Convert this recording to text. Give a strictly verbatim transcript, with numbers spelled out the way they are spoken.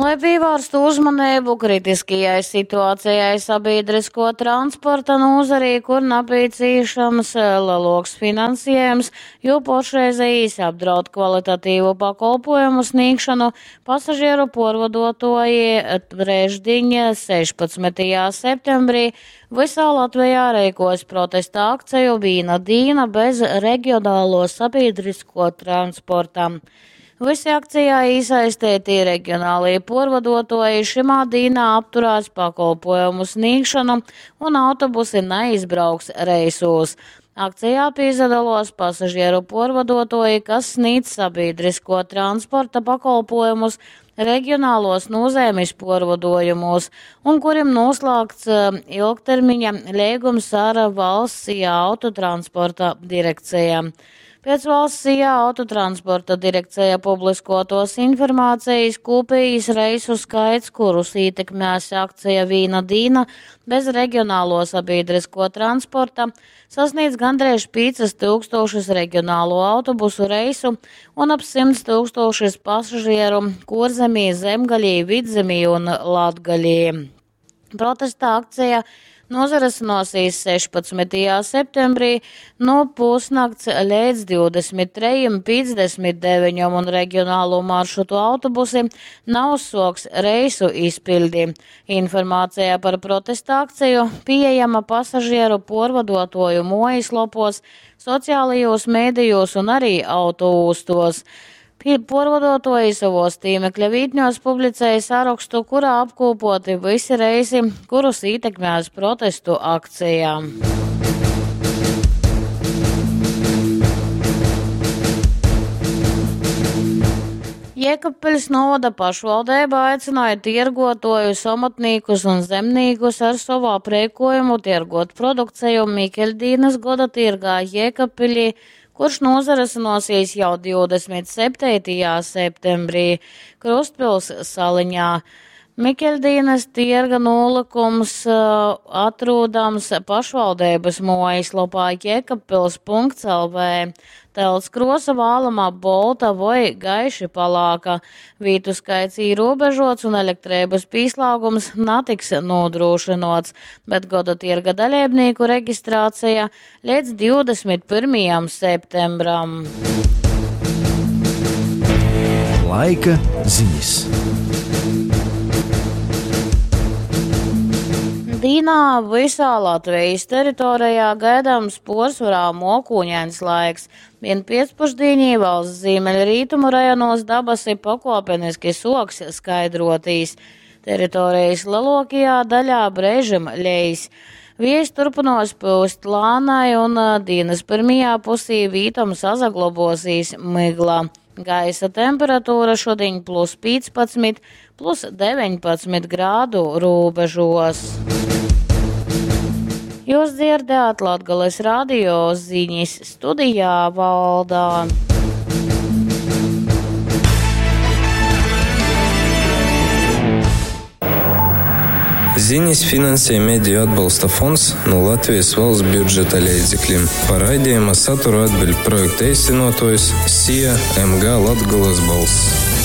Lai pievērstu uzmanību kritiskajai situācijai sabiedrisko transporta nozarī, kur nepieciešams lielāks finansējums, jo pašreizējais apdraud kvalitatīvu pakalpojumu sniegšanu, pasažieru porvadotoji trešdiņ sešpadsmitajā septembrī visā Latvijā reikos protesta akciju Vīna dīna bez regionālo sabiedrisko transporta. Visi akcijā iesaistītie reģionālie porvadotoji šimā dīnā apturās pakalpojumu sniegšanu un autobusi neizbrauks reisos. Akcijā piedalos pasažieru porvadotoji, kas sniedz sabiedrisko transporta pakalpojumus reģionālos nozīmes porvadojumos un kuriem noslēgts ilgtermiņa līgums ar valsts autotransporta direkcijām. Pēc valsts I A autotransporta direkcija publiskotos informācijas kopējas reisu skaits, kurus ietekmēs akcija Vīna dīna bez reģionālo sabiedrisko transporta, sasniedz gandrīz piecas tūkstošas reģionālo autobusu reisu un ap simts tūkstošas pasažieru Kurzemī, Zemgaļī, Vidzemī un Latgaļī. Protesta akcija nozares sešpadsmitajā septembrī no pusnakts līdz divdesmit trejiem piecdesmit deviņiem un reģionālo maršrutu autobusi nav uzsoks reisu izpildi. Informācija par protesta akciju pieejama pasažieru porvadotoju mājaslapos, sociālajos mēdījos un arī autoūstos. Porvadotoji savos tīmekļa vītņos publicēja sarakstu, kurā apkopoti visi reisi, kurus ietekmēs protestu akcijā. Jēkabpils novada pašvaldība aicināja tirgotojus, amatniekus un zemniekus ar savu aprēkojumu tirgot produkciju Mikeļdīnas goda tirgā Jēkabpilī, kurš nozaresinosies jau divdesmit septītajā septembrī Krustpils saliņā. Mikeļdīnas tirga nolikums, eh, atrodams pašvaldības mājaslapā jēkabpils punkts L V. Telts krosa vālamā bolta vai gaiši palāka. Vītu skaits ierobežots un elektrības pieslēgums netiks nodrošināts, bet goda tirga dalībnieku reģistrācija līdz divdesmit pirmajam septembram. Laika ziņas. Dīnā visā Latvijas teritorijā gaidāms porcelāna mokūņains laiks. Vien pēcpusdienī valsts ziemeļrietumu rajonos dabasi pakāpeniski soks skaidrotīs. Teritorijas lielākajā daļā brēžam lejas. Vējs turpinās pūst lānai un dienas pirmajā pusī vītam sazaglobosīs migla. Gaisa temperatūra šodien plus piecpadsmit, plus deviņpadsmit grādu robežos. Jūs dzirdējāt Latgales radio ziņas studijā Valdā. Ziņas finansē Mediju atbalsta fonds no Latvijas valsts budžeta līdzekļiem. Par raidījuma saturu atbild projekta īstenotājs S I A M G Latgales balss.